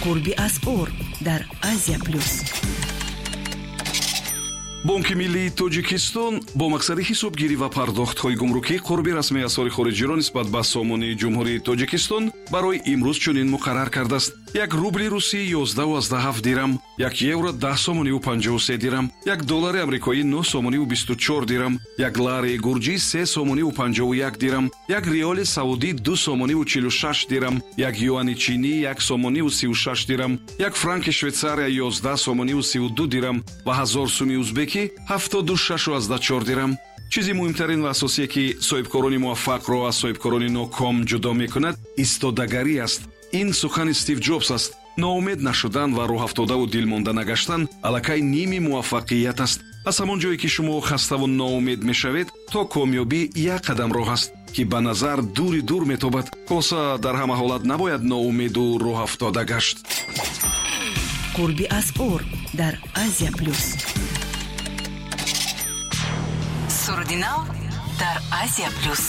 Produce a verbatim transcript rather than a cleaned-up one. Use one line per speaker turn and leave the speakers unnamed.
Қурби асъор дар Азия Плюс.
Бонки миллии Тоҷикистон бо мақсади ҳисобгирӣ ва пардохтҳои гумрукӣ қурби расмии асъори хориҷиро нисбат ба сомонии Ҷумҳурии Тоҷикистон барои имрӯз чунин муқаррар кардааст: як рубли русӣ ёздаҳу ҳафт дирам, як евро даҳ сомониву панҷоҳу се дирам, як доллари амрикоӣ нӯҳ сомониву бисту чор дирам, як лари гурҷӣ се сомониву панҷоҳу як дирам, як риёли саудӣ ду сомониву чилу шаш дирам, як юани чинӣ як сомониву сиву шаш дирам, як франки Швейтсария ёздаҳ сомониву сиву ду дирам ва ҳазор суми узбекӣ ҳафтоду шашу аздаҳ чор дирам. Чизи муҳимтарин ва асосие, ки соҳибкорони муваффақро аз соҳибкорони ноком ҷудо мекунад, истодагарӣ аст. Ин сухани Стив Ҷобс аст. Ноумед нашудан ва рӯҳафтодаву дилмонда нагаштан аллакай ними муваффақият аст. Аз ҳамон ҷое, ки шумо хаставу ноумед мешавед, то комёбӣ як қадам роҳ аст, ки ба назар дури дур метобад. Хулоса, дар ҳама ҳолат набояд ноумеду рӯҳафтода гашт.
Қурби асъор дар Азия Плюс.
Суруди нав дар Азия Плюс.